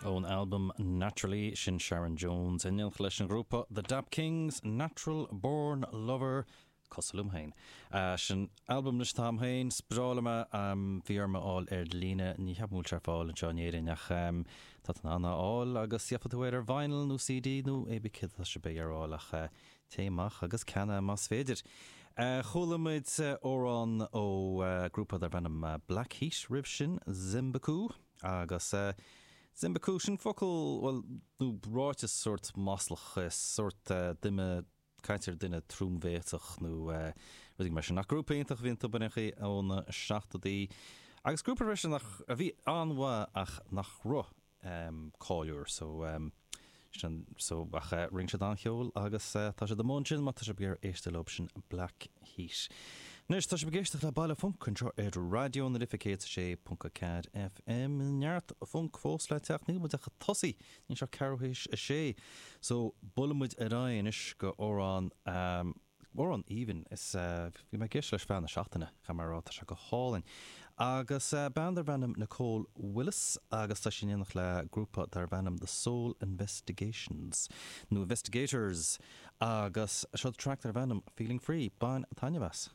Ón albam Naturally, sin Sharon Jones in éineacht leis an ghrúpa The Dap Kings, Natural Born Lover, cosúil liom féin. Sin albam anois atá a'm féin, is breá liom é, bhí orm é a fháil ar líne, ní cheapaim go bhfuil sé ar fáil anseo in Éirinn ach tá tú in ann é a fháil agus gheobhaidh tú air ar vinyl nó CD nó hé bí céard atá sibh ag iarraidh a fháil ach téigh amach agus ceannaigh más féidir. Chuala muid amhrán ó grúpa darb ainm Black Heat roimh sin, Zimbaku. Agus Zimbaku, sin focal, bhuel, nó ráiteas sórt maslach, sórt duine, caint ar duine trombhéasach nó rudaí mar sin. Ach grúpa iontach a bhí iontu ar aon chaoi ó na seachtóidí. Agus grúpa freisin nach, a bhí an-mhaith ach nach raibh cáiliúil so sin so ach rinne siad an-cheol agus tá siad amuigh ansin má tá sibh ag iarraidh éisteacht leo sin Black Heat. Anois tá sibh ag éisteacht le Baile Func anseo ar Raidió na Life 106.4 FM. Neart func fós le teacht, níl muid ach ag tosaí, níl sé ach ceathrú théis a sé. So buailfidh muid ar aghaidh anois go amhrán Amhrán aoibhinn. Is bhí mé ag éisteacht leis feadh na seachtaine, caithfidh mé a rá, tá sé go hálainn. Agus bean darb ainm Nicole Willis agus tá sí in éineacht le grúpa darb ainm The Soul Investigations, nó Investigators, agus seo track darb ainm Feeling Free. Bain taitneamh as.